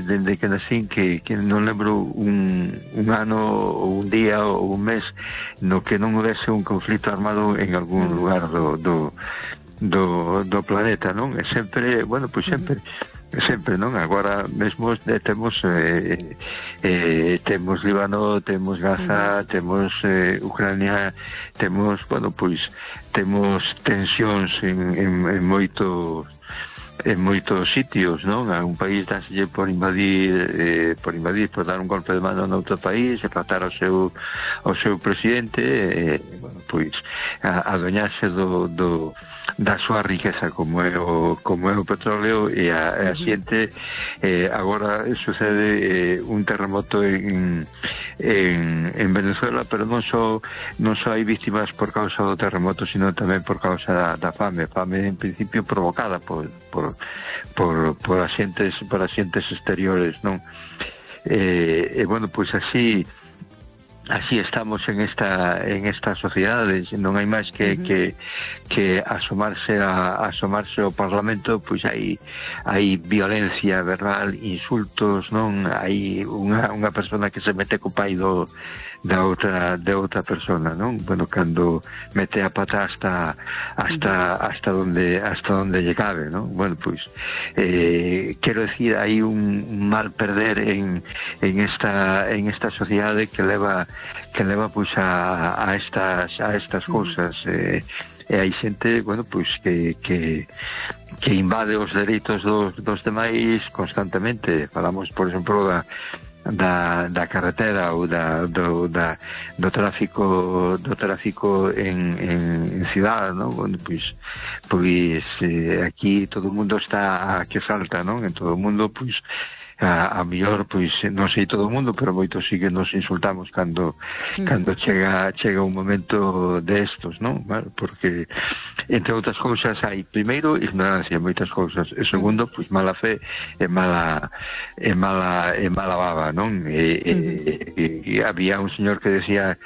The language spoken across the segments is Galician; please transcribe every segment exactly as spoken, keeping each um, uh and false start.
dende, dende que nacín que, que non lembro un, un ano ou un día ou un mes no que non houvese un conflito armado en algún lugar do, do, do, do planeta, non? E sempre, bueno, pois sempre sempre, non? Agora mesmo eh, temos eh, eh, temos Líbano, temos Gaza, temos eh, Ucrania, temos, bueno, pois temos tensións en, en, en moitos en moitos sitios, non? A un país dáselle por invadir eh, por invadir, por dar un golpe de mano noutro país e tratar ao seu ao seu presidente e, eh, bueno, pois a, adueñarse do, do da súa riqueza como é o, como é o petróleo e a, a xente eh, agora sucede eh, un terremoto en, en, en Venezuela, pero non só non só hai víctimas por causa do terremoto, sino tamén por causa da, da fame fame en principio provocada por, por, por, por axentes por axentes exteriores, non? E, eh, eh, bueno, pois así así estamos en esta en esta sociedade, non hai máis que, uh -huh. que que asomarse a asomarse ao Parlamento, pois hai hai violencia verbal, insultos, non? Hai unha unha persona que se mete co pai do da outra de outra persona, non? Bueno, cando mete a pata hasta hasta hasta donde hasta donde lle cabe, non? Bueno, pois eh quero decir, hai un mal perder en en esta en esta sociedade que leva que leva pois a a estas a estas cousas eh e hai xente, bueno, pois que que que invade os dereitos dos dos demais constantemente. Falamos, por exemplo, da da, da carretera ou da, do, da, do tráfico do tráfico en, en, en cidade, non? Bueno, pois, pois eh, aquí todo o mundo está a que salta, non? En todo o mundo, pois a, a mellor, pois, non sei todo o mundo, pero moitos sí que nos insultamos cando mm. cando chega chega un momento destos, non? Bueno, porque entre outras cousas hai, primeiro, ignorancia en moitas cousas, e segundo, pois mala fe e mala e mala e mala baba, non? E, e, e, e había un señor que decía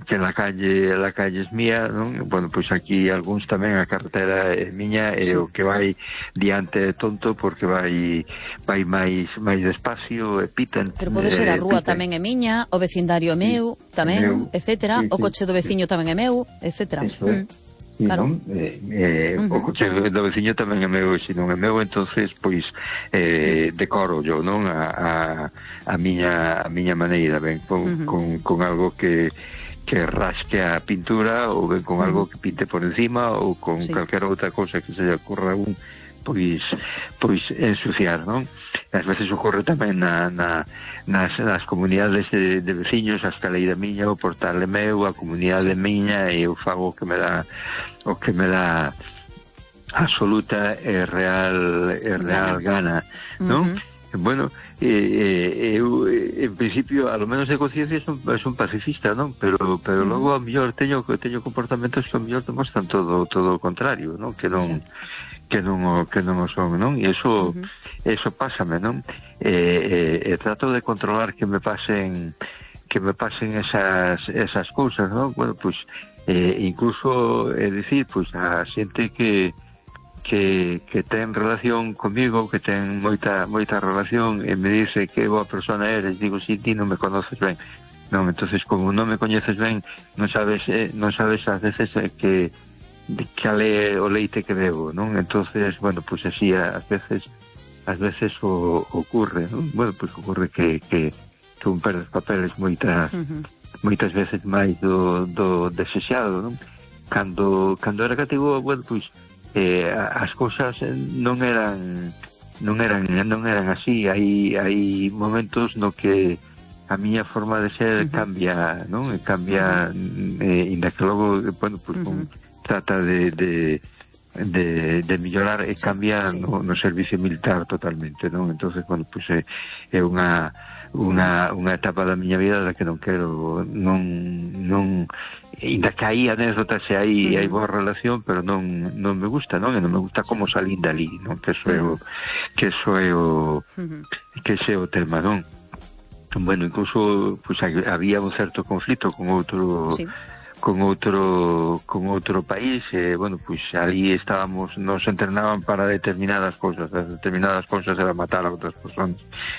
que la calle la calle es mía, non? Bueno, pois aquí algúns tamén a carretera é miña e sí. O que vai diante é tonto porque vai vai máis máis despacio e pitan. Pero pode ser a rúa tamén é miña, o vecindario é meu, tamén, meu, etcétera, sí, sí, o coche do veciño tamén é meu, etcétera. Eso é. Mm. Claro. Non? Eh, eh, uh -huh. O coche do veciño tamén é meu, e se non é meu, entonces pois eh, decoro yo, non? A, a, a miña a miña maneira, ben, con, uh -huh. con, con algo que que rasque a pintura ou ben con uh -huh. algo que pinte por encima ou con sí. calquera outra cousa que se lle ocurra un pois pois ensuciar, non? Ás veces ocorre tamén na, na, nas, nas comunidades de, de veciños, a escaleira miña, o portal é meu, a comunidade miña, e eu fago o que me dá o que me dá absoluta e real e real gana, non? Uh -huh. Bueno, eh, eu en principio, a lo menos de conciencia son, son pacifista, non? Pero pero uh -huh. logo a mellor teño teño comportamentos que a mellor demostran todo todo o contrario, non? Que non sí. que non o, que non o son, non? E iso, uh -huh. eso pásame, non? E, e, e trato de controlar que me pasen que me pasen esas esas cousas, non? Bueno, pois eh, incluso é dicir, pois a xente que que que ten relación comigo, que ten moita moita relación e me dice que boa persona eres, digo, si ti non me conoces ben. Non, entonces como non me coñeces ben, non sabes eh, non sabes ás veces eh, que de cal é o leite que bebo, non? Entonces, bueno, pues así ás veces ás veces o, ocurre, non? Bueno, pues ocurre que, que, que un perde os papeles moitas uh -huh. moitas veces máis do, do desexado, non? Cando, cando era cativo, bueno, pues eh, as cousas non eran non eran non eran así, hai hai momentos no que a miña forma de ser uh -huh. cambia, non? Cambia, eh, inda que logo, bueno, pues uh -huh. con trata de, de, de, de mellorar e cambia sí, sí. No, no servicio militar totalmente, non? Entonces, bueno, pues é, é unha unha unha etapa da miña vida da que non quero, non non inda que hai anécdotas e hai hai boa relación, pero non non me gusta, non? E non me gusta como salín dali, non? Que eso é o que eso é o que ese é o tema, non? Bueno, incluso pues había un certo conflito con outro sí. con outro con outro país e, bueno, pois pues, ali estábamos, nos entrenaban para determinadas cousas, determinadas cousas era matar a outras persoas